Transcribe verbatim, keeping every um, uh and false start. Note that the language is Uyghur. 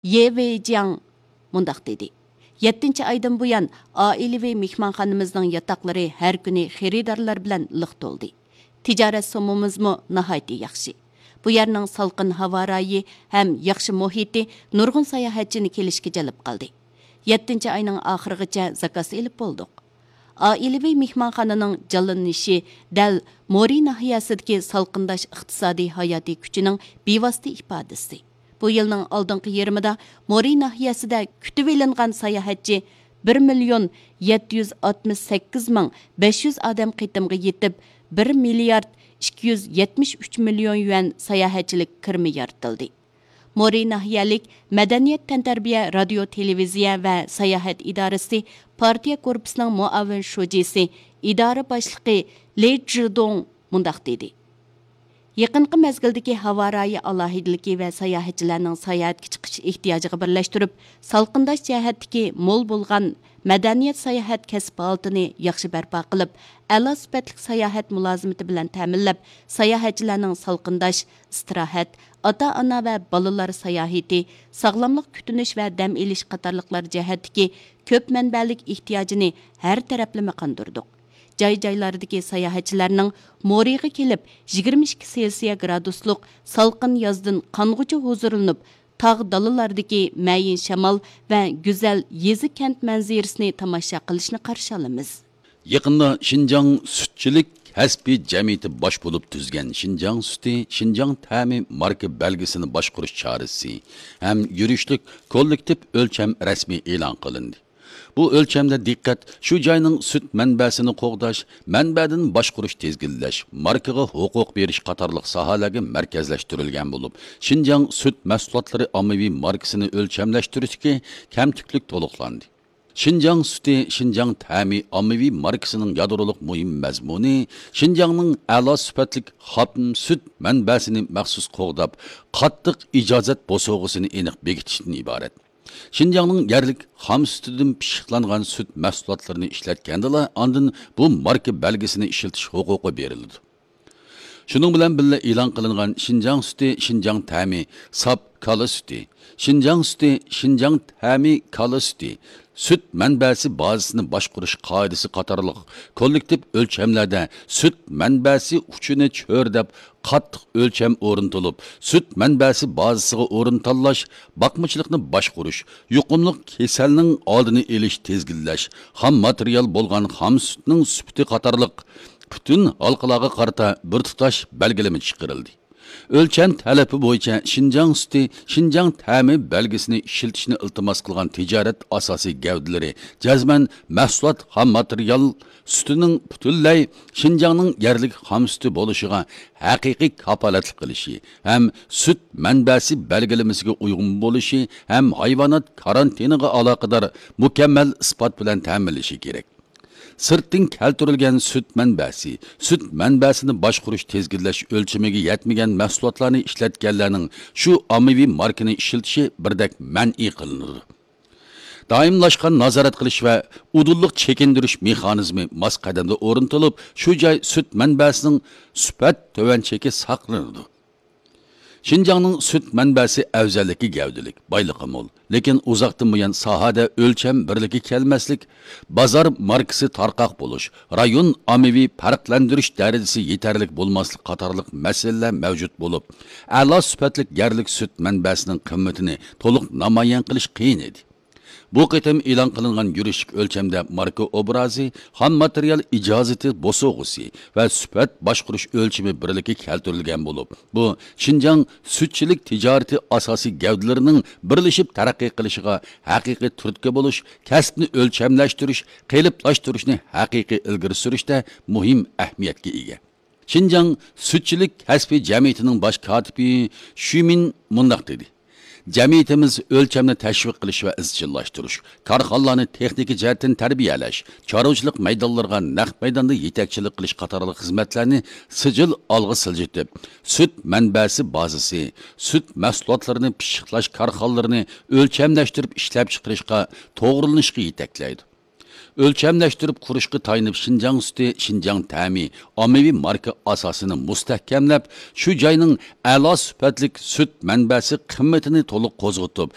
يې ۋېيجياڭ مۇنداق دېدى: يەتتىنچى ئايدىن بۇيان، ئائىلىۋى مېھمانخانىمىزنىڭ ياتاقلىرى ھەر كۈنى خېرىدارلار بىلەن لىق تولدى. تىجارەت سومىمىزمۇ ناھايىتى ياخشى. بۇ يەرنىڭ سالقىن ھاۋا رايى ھەم ياخشى مۇھىتى نۇرغۇن ساياھەتچىنى كېلىشكە جەلپ قىلدى. يەتتىنچى ئاينىڭ ئاخىرىغىچە زاكاز ئېلىپ بولدۇق. ئائىلىۋى مېھمانخانىنىڭ جانلىنىشى دەل مورى ناھىيەسىدىكى سالقىنداش ئىقتىسادىي ھاياتىي كۈچىنىڭ بىۋاسىتە ئىپادىسى. بۇ يىلنىڭ ئالدىنقى يېرىمىدا مورى ناھىيەسىدە كۈتۈۋېلىنغان ساياھەتچى بىر مىليون يەتتە يۈز ئاتمىش سەككىز مىڭ بەش يۈز ئادەم قېتىمغا يېتىپ، بىر مىليارد ئىككى يۈز يەتمىش ئۈچ مىليون يۈەن ساياھەتچىلىك كىرىمى يارىتىلدى. مورى ناھىيەلىك مەدەنىيەت، تەنتەربىيە، رادىيو، تېلېۋىزىيە ۋە ساياھەت ئىدارىسى پارتىيە كورپۇسىنىڭ مۇئاۋىن شۇجىسى، ئىدارە باشلىقى لى جىدۇڭ مۇنداق دېدى: يېقىنقى مەزگىلدىكى ھاۋا رايى ئالاھىدىلىكى ۋە ساياھەتچىلەرنىڭ ساياھەتكە چىقىش ئېھتىياجىغا بىرلەشتۈرۈپ، سالقىنداش جەھەتتىكى مول بولغان مەدەنىيەت ساياھەت كەسىپ ھالىتىنى ياخشى بەرپا قىلىپ، ئەلا سۈپەتلىك ساياھەت مۇلازىمىتى بىلەن تەمىنلەپ، ساياھەتچىلەرنىڭ سالقىنداش، ئىستىراھەت، ئاتا-ئانا ۋە بالىلار ساياھىتى، ساغلاملىق كۈتۈنۈش ۋە دەم ئېلىش قاتارلىقلار جەھەتتىكى كۆپ مەنبەلىك ئېھتىياجىنى ھەر تەرەپلىمە قاندۇردۇق. جاي-جايلاردىكى ساياھەتچىلەرنىڭ مورىغا كېلىپ، يىگىرمە ئىككى سېلسىيە گرادۇسلۇق سالقىن يازدىن قانغۇچە ھۇزۇرلىنىپ، تاغ دالىلاردىكى مەيىن شامال ۋە گۈزەل يېزا-كەنت مەنزىرىسىنى تاماشا قىلىشنى قارشى ئالىمىز. يېقىندا شىنجاڭ سۈتچىلىك كەسپىي جەمئىيىتى باش بولۇپ تۈزگەن شىنجاڭ سۈتى، شىنجاڭ تەمى ماركا بەلگىسىنى باشقۇرۇش چارىسى ھەم يۈرۈشلۈك كوللېكتىپ ئۆلچەم رەسمىي ئېلان قىلىندى. بۇ ئۆلچەمدە دىققەت شۇ جاينىڭ سۈت مەنبەسىنى قوغداش، مەنبەدىن باشقۇرۇش، تىزگىنلەش، ماركىغا ھوقۇق بېرىش قاتارلىق ساھەلەرگە مەركەزلەشتۈرۈلگەن بولۇپ، شىنجاڭ سۈت مەھسۇلاتلىرى ئاممىۋى ماركىسىنى ئۆلچەملەشتۈرۈشتىكى كەمتۈكلۈك تولۇقلاندى. شىنجاڭ سۈتى، شىنجاڭ تەمى ئاممىۋى ماركىسىنىڭ يادرولۇق مۇھىم مەزمۇنى شىنجاڭنىڭ ئەلا سۈپەتلىك خام سۈت مەنبەسىنى مەخسۇس قوغداپ، قاتتىق ئىجازەت بوسۇغىسىنى ئېنىق بېكىتىشتىن ئىبارەت. شىنجاڭنىڭ يەرلىك خام سۈتىدىن پىششىقلانغان سۈت مەھسۇلاتلىرىنى ئىشلەتكەندىلا، ئاندىن بۇ ماركا بەلگىسىنى ئىشلىتىش ھوقۇقى بېرىلىدۇ. شۇنىڭ بىلەن بىللە، ئېلان قىلىنغان شىنجاڭ سۈتى، شىنجاڭ تەمى، ساپ كالا سۈتى، شىنجاڭ سۈتى، شىنجاڭ تەمى كالا سۈتى، سۈت مەنبەسى بازىسىنى باشقۇرۇش قائىدىسى قاتارلىق كوللېكتىپ ئۆلچەملەردە سۈت مەنبەسى ئۇچىنى چۆرىدەپ، قاتتىق ئۆلچەم ئورنىتىلىپ، سۈت مەنبەسى بازىسىغا ئورۇن تاللاش، باقمىچىلىقنى باشقۇرۇش، يۇقۇملۇق كېسەلنىڭ ئالدىنى ئېلىش، تىزگىنلەش، خام ماتېرىيال بولغان خام سۈتنىڭ سۈپىتى قاتارلىق پۈتۈن ھالقىلارغا قارىتا بىر تۇتاش بەلگىلىمە چىقىرىلدى. ئۆلچەم تەلىپى بويىچە شىنجاڭ سۈتى، شىنجاڭ تەمى بەلگىسىنى ئىشلىتىشنى ئىلتىماس قىلغان تىجارەت ئاساسىي گەۋدىلىرى جەزمەن مەھسۇلات خام ماتېرىيال سۈتىنىڭ پۈتۈنلەي شىنجاڭنىڭ يەرلىك خام سۈتى بولۇشىغا ھەقىقىي كاپالەتلىك قىلىشى ھەم سۈت مەنبەسى بەلگىلىمىسىگە ئۇيغۇن بولۇشى ھەم ھايۋانات كارانتىنىغا ئالاقىدار مۇكەممەل ئىسپات بىلەن تەمىنلىشى كېرەك. سىرتتىن كەلتۈرۈلگەن سۈت مەنبەسى، سۈت مەنبەسىنى باشقۇرۇش، تىزگىنلەش ئۆلچىمىگە يەتمىگەن مەھسۇلاتلارنى ئىشلەتكەنلەرنىڭ شۇ ئاممىۋى ماركىنى ئىشلىتىشى بىردەك مەنئى قىلىنىدۇ. دائىملاشقان نازارەت قىلىش ۋە ئۇدۇللۇق چېكىندۈرۈش مېخانىزمى ماس قەدەمدە ئورنىتىلىپ، شۇ جاي سۈت مەنبەسىنىڭ سۈپەت تۆۋەن چېكى ساقلىنىدۇ. شىنجاڭنىڭ سۈت مەنبەسى ئەۋزەللىكى گەۋدىلىك، بايلىقى مول، لېكىن ئۇزاقتىن بۇيان ساھەدە ئۆلچەم بىرلىكى كەلمەسلىك، بازار ماركىسى تارقاق بولۇش، رايون ئاممىۋى پەرقلەندۈرۈش دەرىجىسى يېتەرلىك بولماسلىق قاتارلىق مەسىلىلەر مەۋجۇت بولۇپ، ئەلا سۈپەتلىك يەرلىك سۈت مەنبەسىنىڭ قىممىتىنى تولۇق نامايان قىلىش قىيىن ئىدى. بۇ قېتىم ئېلان قىلىنغان يۈرۈشلۈك ئۆلچەمدە ماركا ئوبرازى، خام ماتېرىيال ئىجازىتى بوسۇغىسى ۋە سۈپەت باشقۇرۇش ئۆلچىمى بىرلىكى كەلتۈرۈلگەن بولۇپ، بۇ شىنجاڭ سۈتچىلىك تىجارىتى ئاساسىي گەۋدىلىرىنىڭ بىرلىشىپ تەرەققىي قىلىشىغا ھەقىقىي تۈرتكە بولۇش، كەسىپنى ئۆلچەملەشتۈرۈش، قېلىپلاشتۇرۇشنى ھەقىقىي ئىلگىرى سۈرۈشتە مۇھىم ئەھمىيەتكە ئىگە. شىنجاڭ سۈتچىلىك كەسپىي جەمئىيىتىنىڭ باش كاتىپى شۈمىن مۇنداق دېدى: جەمئىيىتىمىز ئۆلچەمنى تەشۋىق قىلىش ۋە ئىزچىللاشتۇرۇش، كارخانىلارنى تېخنىكا جەھەتتىن تەربىيەلەش، چارۋىچىلىق مەيدانلىرىغا نەق مەيداندا يېتەكچىلىك قىلىش قاتارلىق خىزمەتلەرنى سىجىل ئالغا سىلجىتىپ، سۈت مەنبەسى بازىسى، سۈت مەھسۇلاتلىرىنى پىششىقلاش كارخانىلىرىنى ئۆلچەملەشتۈرۈپ ئىشلەپچىقىرىشقا توغرىلىنىشقا يېتەكلەيدۇ. ئۆلچەملەشتۈرۈپ قۇرۇشقا تايىنىپ، شىنجاڭ سۈتى، شىنجاڭ تەمى ئاممىۋى ماركا ئاساسىنى مۇستەھكەملەپ، شۇ جاينىڭ ئەلا سۈپەتلىك سۈت مەنبەسى قىممىتىنى تولۇق قوزغىتىپ،